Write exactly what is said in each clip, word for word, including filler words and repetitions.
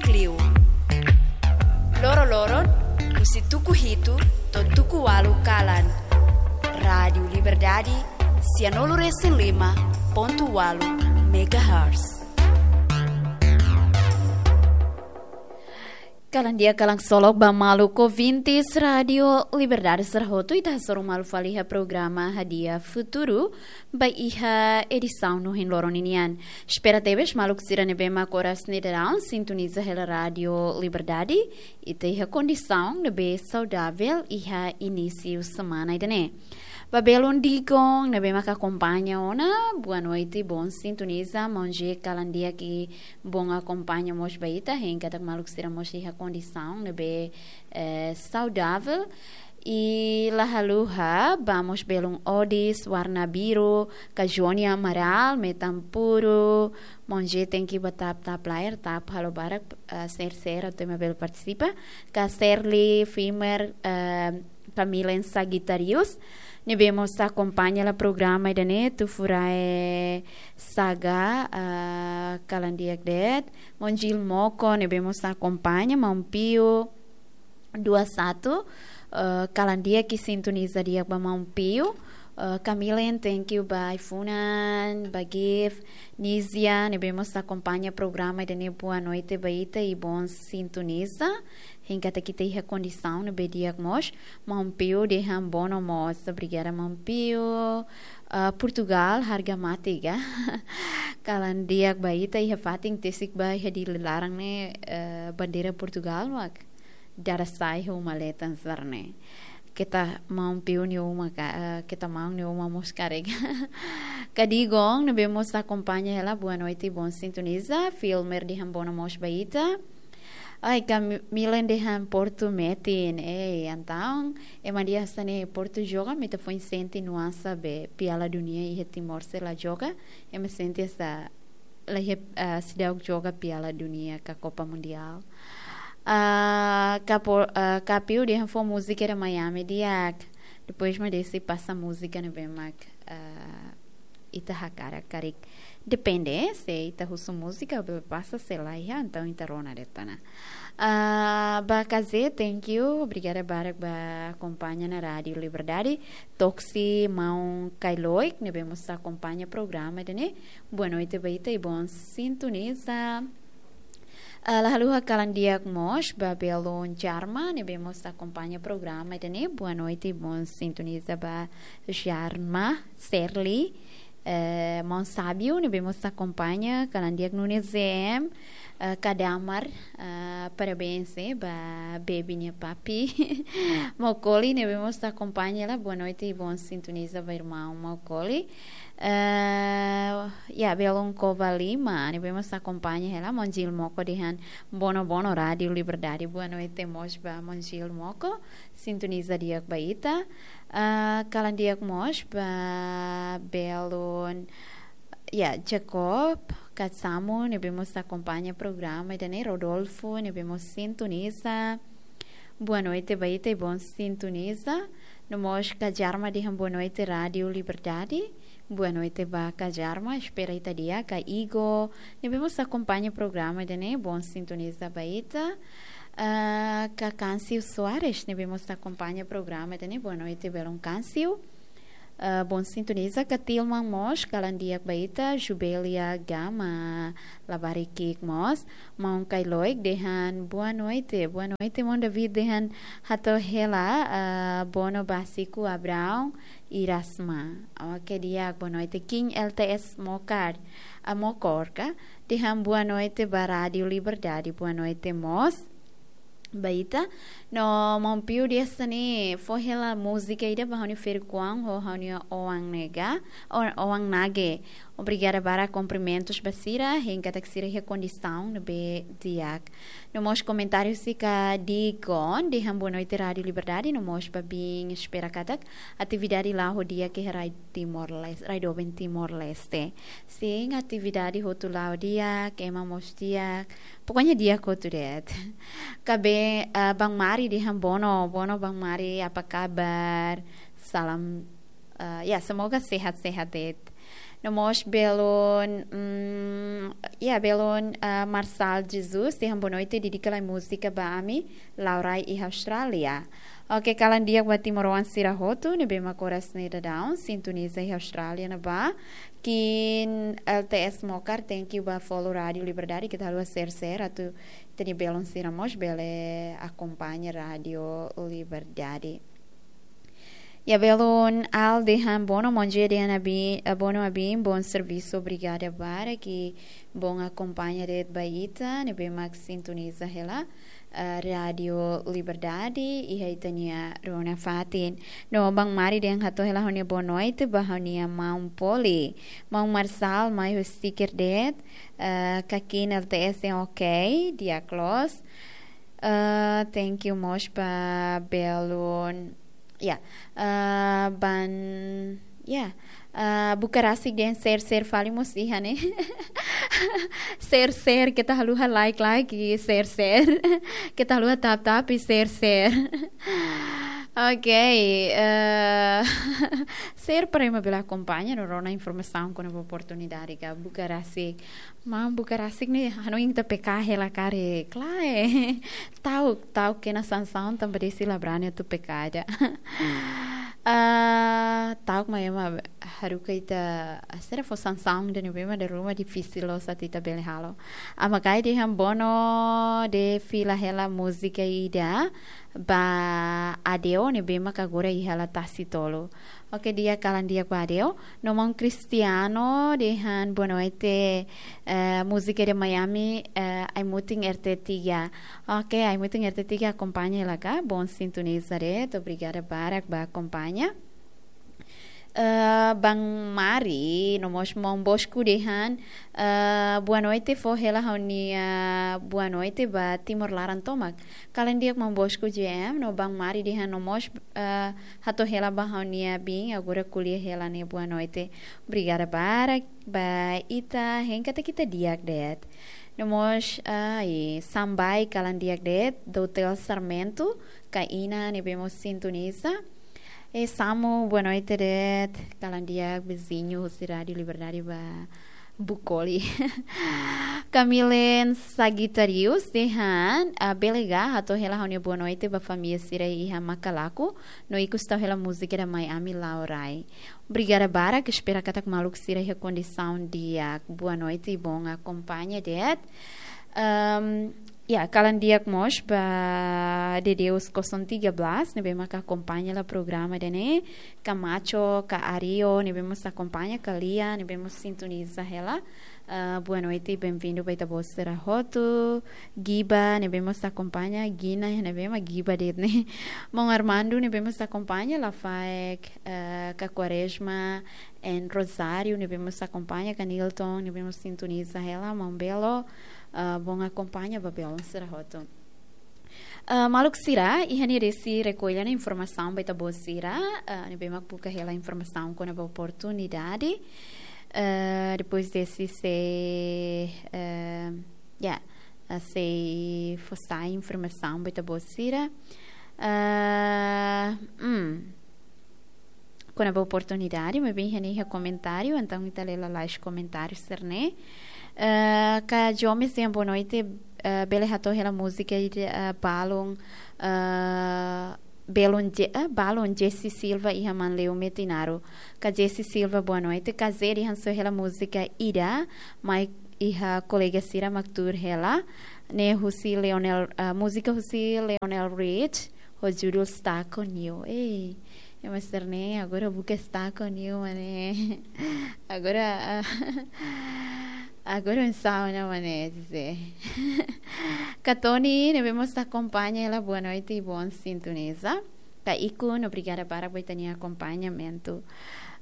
Klio. Loro-loron, husi tuku hitu to'o tuku ualu kalan. Rádiu Liberdade, sianulu-resin-lima pontu ualu megahertz. Kalan di'ak, kalan solok ba maluk ouvintes Rádiu Liberdade sira hotu, ita hasoru malu fali iha programa Hadi'a Futuru, ba iha edisaun ohin loron ninian. Espera tebes maluk sira ne'ebé mak oras ne'e daudaun sintoniza hela Rádiu Liberdade, ita iha kondisaun ne'ebé saudavel iha inísiu semana ida-ne'e. Ba belun Digon ne'ebé mak akompaña ona, boa noite, bom sintonia, maun G kalan di'ak i bom akompaña mós ba ita, hein katak maluk sira mós iha kondisaun ne'ebé, eh, saudavel. I la haluha ba mós belun Odis, Warna Biru, Kajonia Amaral, Metan Puru, maun G thank you ba tap-tap layar, tap halo barak, eh, share-share atu ema bele partisipa. Ka Serli, Fimer, eh, Kamilen Sagitarius, ne'ebé mós akompaña hela programa ida-ne'e, Tufurae Saga, eh, kalan di'ak de'it, maun Jil Moko, ne'ebé mós akompaña, maun Pio, dua satu, eh, kalan di'ak i sintoniza di'ak ba maun Pio, eh, Kamilen, thank you ba ai-funan, ba Gif, Nizia, ne'ebé mós akompaña programa ida-ne'e, boa noite ba ita i bom sintoniza, hein katak ita iha kondisaun ne'ebé di'ak mós, maun Pio dehan bono mós, obrigada maun Pio, ah, Portugal, harga mati ka, kalan di'ak ba ita, iha fatin tesik ba iha Dili laran ne'e, eh, bandeira Portugal mak dada sai ho uma letan sira-ne'e. Keta maun Pio nia uma ka, eh, keta maun nia uma mós karik. Ka Digon ne'ebé mós akompaña hela, boa noite, bom sintoniza. Filmer dehan bono mós ba ita. Ai, Kamilen dehan Portu metin. Ei, entaun, ema dehan hanesan ne'e Portu joga, mak ita foin sente nuansa be Piala Dunia iha Timor sei la joga. Ema sente hanesan la iha, ah, seidauk joga Piala Dunia ka Copa Mundial. Ah, ka Por-, ah, ka Pio dehan fó múzika ida Miami di'ak. Depois mak deside pasa múzika ne'ebé mak, ah, ita hakarak karik. Depende, se ita husu múzika bele pasa, se la iha, entaun ita rona de'it ona. Ah, ba K Z, thank you. Obrigada barak ba akompaña ona Rádiu Liberdade. Toksi maun Kailoik, ne'ebé mós akompaña programa ida-ne'e. Boa noite ba ita i bom sintoniza. Ah, la haluha kalan di'ak mós ba belun Jarma, ne'ebé mós akompaña programa ida-ne'e. Boa noite, bom sintoniza ba Jarma, Serli, eh, maun Sábio, ne'ebé mós akompaña, kalan di'ak Nunes Z M, eh, Kadamar, eh, parabéns, eh, ba baby nia papi. Maukoli, ne'ebé mós akompaña hela, boa noite i bom sintoniza ba irmaun Maukoli. Eh, ya, belun Kovalima, ne'ebé mós akompaña hela, maun Jil Moko dehan bono-bono Rádiu Liberdade, boa noite mós ba maun Jil Moko, sintoniza di'ak ba ita. Ah, kalan di'ak mós ba belun, ya, Jacob Katsamu, ne'ebé mós akompaña programa ida-ne'e, Rodolfo, ne'ebé mós sintoniza. Boa noite ba ita i bom sintoniza. No mós Kajarma dehan boa noite Rádiu Liberdade. Boa noite ba Kajarma, espera ita di'ak. Ka Igo, ne'ebé mós akompaña programa ida-ne'e, bom sintoniza ba ita. Ah, ka Kansiu Soares, ne'ebé mós akompaña programa ida-ne'e, boa noite belun Kansiu. Ah, bom sintoniza. Ka Tilman mós, kalan di'ak ba ita, Jubelia Gama, labarik ki'ik mós, maun Kailoik dehan boa noite, boa noite, maun David dehan hato'o hela, ah, bono ba Siku Abraão Irasma. Oke, di'ak, boa noite. King L T S Mokar, ah, Mokor ka, dehan boa noite ba Rádiu Liberdade, boa noite mós ba ita. No maun Pio dehan hanesan ne'e, fó hela múzika ida ba ha'u-nia ferik-oan ho ha'u-nia oan ne'e ka, o-, oan nage. Obrigada barak, kumprimentus ba sira, hein katak sira iha kondisaun ne'ebé di'ak. No mós komentáriu husi ka Digon, dehan boa noite Rádiu Liberdade, no mós ba bin espera katak atividade la'o ho di'ak iha rai Timor-Leste, rai doben Timor-Leste. Sin, atividade hotu la'o di'ak, ema mós di'ak, pokoknya di'ak hotu de'it. Ka be, ah, Bang Mari dehan bono, bono Bang Mari, apa kabar? Salam, ah, ya, semoga sehat-sehat de'it. No mós belun, mm, ya, belun, ah, Marçal Jesus, dehan boa noite, dedika lai múzika ba ami, Laurai iha Austrália. Oke, kalan di'ak ba timoroan sira hotu, ne'ebé mak oras ne'e daudaun sintoniza iha Austrália ne'ebá. Kiin L T S Mokar, thank you ba follow Rádio Liberdade, keta haluha share-share, atu ita-nia belun sira mós bele akompaña Rádio Liberdade. Ya, belun Al dehan bono, bom dia dehan Abi, eh, bono Abin, bom servisu, obrigada barak, ki'ik bom akompaña de'it ba ita, ne'ebé mak sintoniza hela, eh, Rádio Liberdade, iha ita-nia rona fatin. No Bang Mari dehan hato'o hela ha'u-nia boa noite ba ha'u-nia maun Poli. Maun Marçal, mai ho sticker de'it, eh, kakin L T S dehan ok, di'ak loos. Eh, thank you mós ba belun. Ya, eh, ban, ya, eh, buka rasik dehan share-share fali mós iha ne'e. Share-share, keta haluha like-like i share-share. Keta haluha tap-tap i share-share. Oke, eh, share para ema bele akompaña no rona informasaun kona-ba oportunidade ka buka rasik. Maun buka rasik ne'e, hanoin ita peka hela karik, klae. Ta'uk, ta'uk kena sansaun tanba desi la brani atu peka ida. Ah, ta'uk mak ema haruka ita, sira fó sansaun ida ne'ebé mak dala ruma difisil loos atu ita bele halo. Ema kaer dehan bono dehan fila hela múzika ida ba Adeo ne'ebé mak agora iha hela tasi tolu. Oke, di'ak, kalan di'ak ba Adeo. No maun Cristiano dehan boa noite, eh, múzika de Miami, eh, Aimutin R T tiga. Oke, Aimutin R T tiga akompaña hela ka, bom sintoniza de'it, obrigada barak ba akompaña. Eh, Bang Mari, no mós maun Bosco dehan, eh, boa noite, fó hela ha'u-nia boa noite ba Timor laran tomak. Kalan di'ak maun Bosco J M, no Bang Mari dehan no mós, eh, hato'o hela ba ha'u-nia biin, agora ko'alia hela ne'e boa noite. Obrigada barak ba ita, hein katak ita di'ak de'it. No mós, ah, i Sambai kalan di'ak de'it, Doutel Sarmento, Kaina, ne'ebé mós sintoniza. E Samu, boa noite de'it, kalan di'ak, viziñu husi Rádio Liberdade ba Bukoli. Kamilen Sagitarius dehan, ah, bele ka hato'o hela ha'u-nia boa noite ba família sira iha Makalaku, no ikus tau hela múzika de Miami Laurai. Obrigada barak, espera katak maluk sira iha kondisaun di'ak. Boa noite i bom akompaña de'it. Ehm, ya, kalan di'ak mós ba Dedeus kosong tiga belas, ne'ebé maka akompaña hela programa ida-ne'e. Camacho, ka Ario, ne'ebé mós akompaña, ka Lia, ne'ebé mós sintoniza hela. Ah, boa noite, bem-vindo ba ita-boot sira hotu. Giba, ne'ebé mós akompaña, Gina, ne'ebé mak Giba de'it ne'e. Maun Armando, ne'ebé mós akompaña, Lafaek, eh, ka Quaresma, en Rosário, ne'ebé mós akompaña, ka Nilton, ne'ebé mós sintoniza hela, maun Belo, eh, bom akompaña ba belun sira hotu. Eh, maluk sira, iha ne'e desi rekolla ona informasaun ba ita-boot sira, eh, ne'ebé mak buka hela informasaun kona-ba oportunidade. Eh, depois desi sei, eh, ya, eh, sei fó sai informasaun ba ita-boot sira. Eh, hmm. Kona-ba oportunidade, maibé iha ne'e iha komentáriu, entaun ita lee lalais komentáriu sira-ne'e. Eh, ka Jomes dehan boa noite, eh, bele hato'o hela múzika ida, eh, balun, eh, belun Je-, eh, balun Jesse Silva iha Manleu Metinaro. Ka Jesse Silva, boa noite. Ka Zé dehan soe hela múzika ida, mai iha kolega sira mak tuur hela. Ne'e husi Lionel, eh, múzika husi Lionel Rich, ho judul Stuck on You. Ei, ema sira-ne'e, agora buka Stuck on You, mane. Agora, ah, agora um sound, mane, dizer. Ka Tony, ne'ebé mós akompaña hela, boa noite i bom sintoniza. Ka Ikun, obrigada barak ba ita-nia akompañamentu.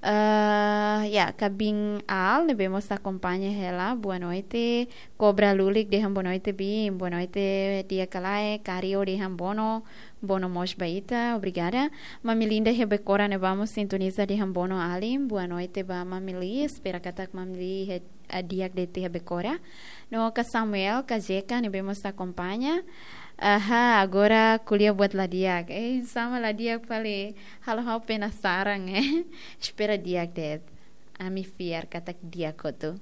Ah, ya, ka Bin Al, ne'ebé mós akompaña hela, boa noite. Kobra Lulik dehan boa noite, Bin, boa noite, di'ak ka lae, Kario dehan bono, bono mós ba ita, obrigada. Mami Linda iha Becora ne'ebá mós sintoniza dehan bono alin, boa noite ba Mami Li, espera katak Mami Li iha, ah, di'ak de'it iha Becora. No ka Samuel, ka Jeka, ne'ebé mós akompaña. Aha, agora ko'alia buat la di'ak. Eh, sama la di'ak fali, halo ha'u penasaran, eh. Espera di'ak de'it. Ami fiar katak di'ak hotu.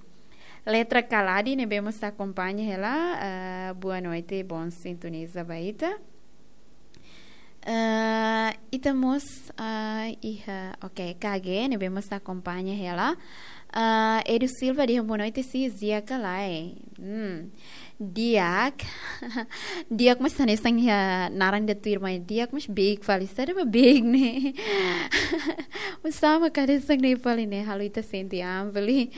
Letra Kaladi ne'ebé mós akompaña hela, ah, boa noite, bom sintoniza ba ita. Ah, ita mós, ah, iha, ok, K G ne'ebé mós akompaña hela. Ah, Edu Silva dehan boa noite, Sis, di'ak ka lae? Hmm. Di'ak. Di'ak mós hanesan iha naran ida tuirmai. Di'ak mós beik fali. Saida mak beik ne'e? Oinsá mak hanesan ne'e fali ne'e, halo ita sente an fali.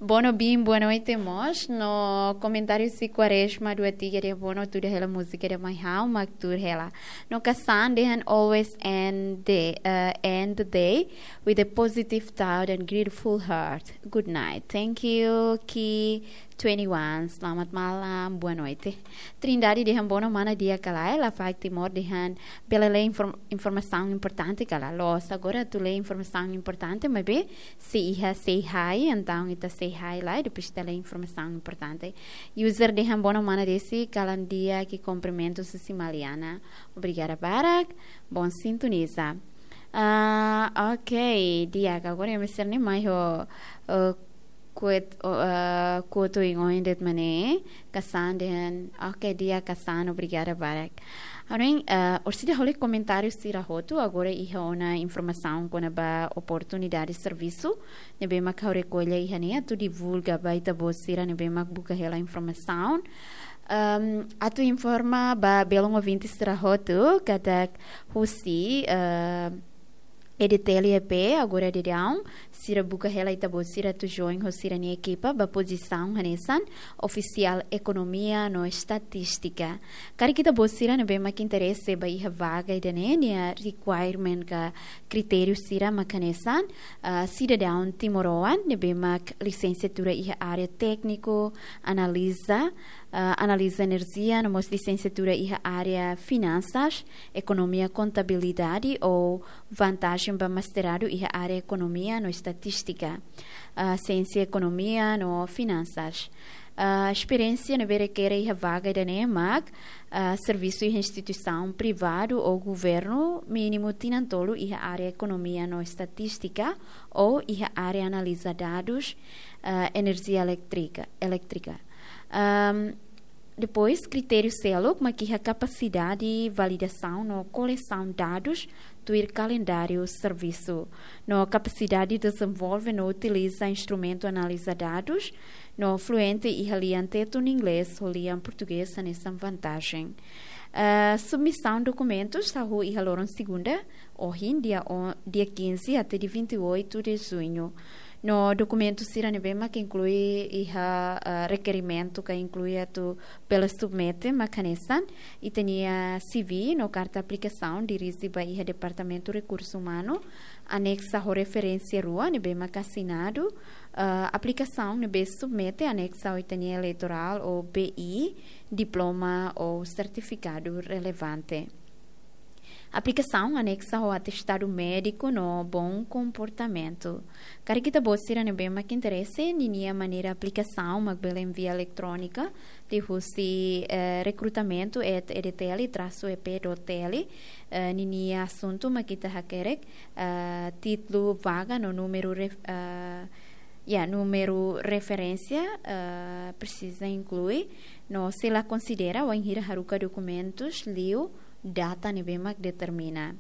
Bono Bim, boa noite mós. No komentáriu husi Quaresma dua tiga dehan bono tuda hela múzika ida mai ha'u mak tuur hela. No Kasan dehan always end the, uh, end the day with a positive thought and grateful heart. Good night. Thank you, Ki twenty-one. Selamat malam, boa noite. Trindade dehan bono mana di'ak ka lae, Lafaek Timor dehan bele lee inform-, informasaun importante ka lae. Loos, agora atu lee informasaun importante, maibé se iha say hi, entaun ita say hi lai, depois ita lee informasaun importante. User dehan bono mana Desi, kalan di'ak, kumprimentus husi Maliana. Obrigada barak, bom sintoniza. Ah, ok, di'ak, agora imi sira-ne'e mai ho, eh, kuet, oh, eh, kuotu ingoin de'it mak ne'e, Kasan dehan, ok, di'ak Kasan, obrigada barak. Ha'u hanoin, eh, orsida halo komentáriu sira hotu, agora iha ona informasaun kona-ba oportunidade servisu, ne'ebé mak ha'u rekolla iha ne'e, atu divulga ba ita-boot sira ne'ebé mak buka hela informasaun. Ehm, atu informa ba belun ouvinte sira hotu, katak husi, eh, E D T L E P, agora daudaun, sira buka hela ita-boot sira atu join ho sira-nia ekipa ba pozisaun hanesan ofisiál ekonomia no estatístika. Karik ita-boot sira ne'ebé mak interese ba iha vaga ida-ne'e, nia requirement ka kritériu sira mak hanesan, ah, sidadaun timoroan ne'ebé mak lisensiatura iha área tékniku, analiza, ah, analiza enerjia, no mós lisensiatura iha área finansas, ekonomia, kontabilidade ou vantajen ba mestradu iha área ekonomia no estatístika, ah, siénsia ekonomia no finansas. Ah, esperiénsia ne'ebé rekere iha vaga ida-ne'e mak, ah, servisu iha instituisaun privadu ou governu, mínimu tinan tolu iha área ekonomia no estatístika ou iha área analiza dadus, ah, enerjia elétrika, elétrika. Ahm, depois, kritériu seluk mak iha kapasidade validasaun no kolesaun dadus tuir kalendáriu servisu, no kapasidade dezenvolve no utiliza instrumentu analiza dadus, no fluente iha lian Tetun, Inglés, ho lian Portugés hanesan vantajen. Ah, submisaun dokumentus hahú iha loron segunda, ohin, dia o-, dia quinze até dia vinte e oito de junho. No dokumentu sira ne'ebé mak inklui iha, ah, rekerimentu ka inklui atu bele submete mak hanesan ita-nia C V no karta aplikasaun dirije ba iha Departamentu Rekursu Umanu, aneksa ho referénsia rua ne'ebé mak asinadu, ah, aplikasaun ne'ebé submete aneksa ho ita-nia eleitorál ou B I, diploma ou sertifikadu relevante. Aplikasaun aneksa ho atestadu médiku no bom komportamentu. Karik ita-boot sira ne'ebé mak interese, ninia maneira aplikasaun mak bele envia eletrónika liuhusi, eh, recrutamento at E D T L traço E P dot T L, eh, ninia asuntu mak ita hakerek, eh, títulu vaga no númeru ref-, eh, ya, númeru referénsia, eh, presiza inklui, no sei la konsidera wainhira haruka dokumentus liu data ne'ebé mak determina.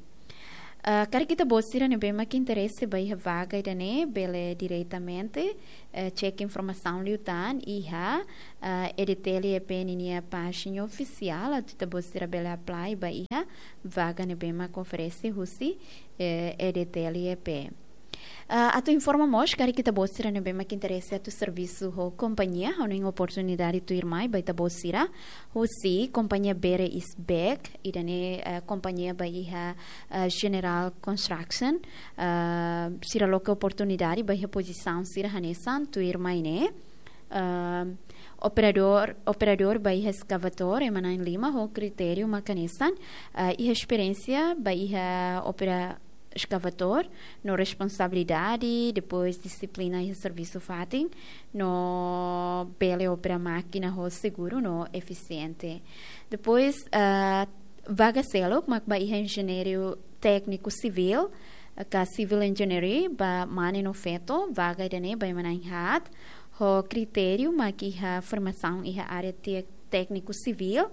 Eh, karik ita-boot sira ne'ebé mak interese ba iha vaga ida-ne'e, bele diretamente, eh, cek informasaun liután iha, eh, E D T L E P ninia pájina ofisiál, atu ita-boot sira bele apply ba iha vaga ne'ebé mak oferese husi, eh, E D T L E P. Ah, atu informa mós, karik ita-boot sira ne'ebé mak interese atu servisu ho kompañia, ha'u hanoin oportunidade tuirmai ba ita-boot sira, husi kompañia Bere Isbek, ida-ne'e, eh, kompañia ba iha, eh, General Construction, eh, sira loke oportunidade ba iha pozisaun sira hanesan tuirmai ne'e. Eh, operadór, operadór ba iha eskavadór, ema na'in lima ho kritériu mak hanesan, eh, iha esperiénsia ba iha opera-, eskavadór, no responsabilidade, depois dixiplina iha servisu fatin, no bele opera mákina ho seguru no efisiente. Depois, ah, vaga seluk mak ba iha enjeñeiru tékniku sivíl, ka civil engineering ba mane no feto, vaga ida-ne'e ba ema na'in-haat, ho kritériu mak iha formasaun iha área te-, tékniku sivíl,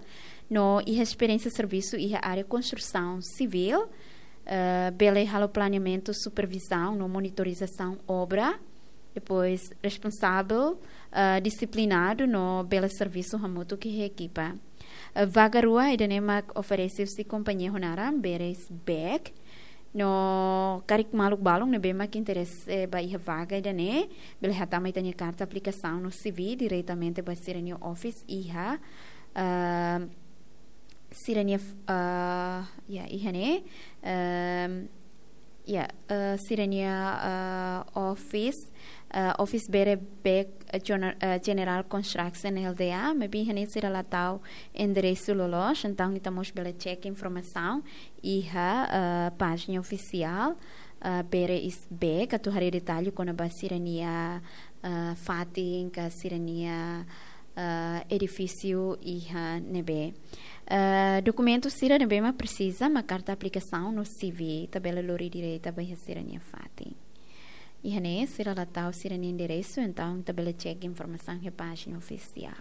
no iha esperiénsia servisu iha área konstrusaun sivíl, eh, bele halo planeamentu, supervizaun no monitorizasaun obra, depois responsavel, eh, disiplinadu no bele servisu hamutuk ho ekipa. Eh, vaga rua ida-ne'e mak oferese husi kompañia ho naran Beres Bag. No karik maluk balun ne'ebé mak interese ba iha vaga ida-ne'e, bele hatama ita-nia karta aplikasaun no C V diretamente ba sira-nia office iha, ah, sira-nia, ah, ya, iha ne'e, ehm, ya, eh, sira-nia, eh, office, eh, office Beres Bag, eh, Gener-, eh, General Construction L T D A, maibé iha ne'e sira la tau enderesu loloos, entaun ita mós bele check informasaun iha, eh, pájina ofisiál, eh, Beres Bag, atu haree detalle kona-ba sira-nia, eh, fatin ka sira-nia, eh, edifísiu iha ne'ebé. Eh, dokumentu sira ne'ebé mak presiza mak karta aplikasaun no C V, ita bele lori direta ba iha sira-nia fatin. Iha ne'e sira la tau sira-nia enderesu, entaun ita bele check informasaun iha pájina ofisiál.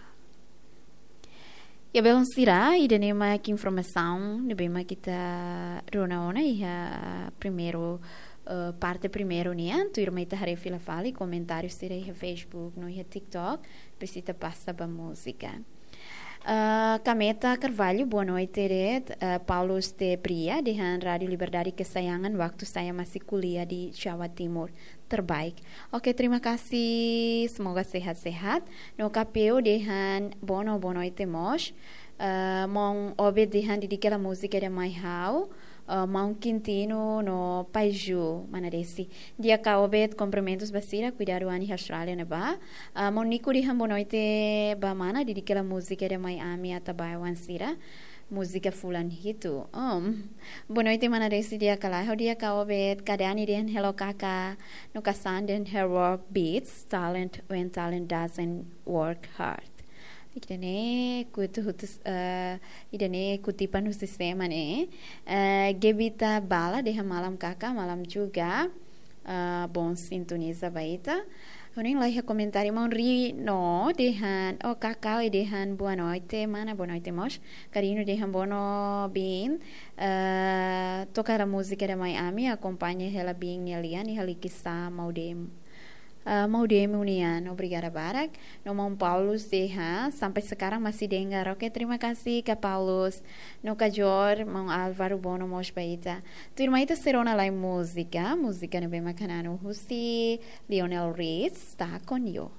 Ya, belun sira, ida-ne'e mak informasaun ne'ebé mak ita rona ona iha primeiru, eh, parte primeiru nian, tuirmai ita haree fila fali komentáriu sira iha Facebook no iha TikTok, depois ita pasa ba múzika. Ah, Kameta Carvalho, boa noite de'it. Ah, Paulus de Bria, dehan Rádio Liberdade kesayangan waktu saya masih kuliah di Jawa Timur. Terbaik. Oke, terima kasih. Semoga sehat-sehat. No Kapeu dehan bono, boa noite mós. Ah, maun Obed dehan dedika hela múzika ida mai ha'u, ah, maun Quintino no Pai Ju, mana Desi. Di'ak ka Obed, kumprimentus ba sira, kuidadu an iha Austrália ne'ebá. Ah, maun Nico dehan boa noite ba mana, dedika hela múzika ida mai ami, Atabae-oan sira. Múzika fulan hitu. Um, boa noite, mana Desi, di'ak ka lae? Ha'u di'ak ka Obed, Kadani dehan hello kaka, no Kasan dehan her work beats talent when talent doesn't work hard. Ida-ne'e kutipan husi, eh, ida-ne'e kutipan husi sira ne'e. Eh, Gebita Bala dehan malam kaka, malam juga. Eh, bom sintoniza ba ita. Ha'u-nia laiha komentáriu, maun Rino dehan, oh, Kakau dehan boa noite, mana, boa noite mós. Karino dehan bono bin, eh, toka hela múzika ida mai ami, akompaña hela bin nia lian, iha Likisá, Maudem. Ah, Maudem Unian, obrigada barak. No maun Paulus dehan, sampai sekarang masih dengar. Oke, terima kasih ka Paulus. No Kajor, maun Álvaro, bono mós ba ita. Tuirmai ita sei rona lai múzika, múzika ne'ebé mak hananu husi Lionel Richie, Tá Com Yo.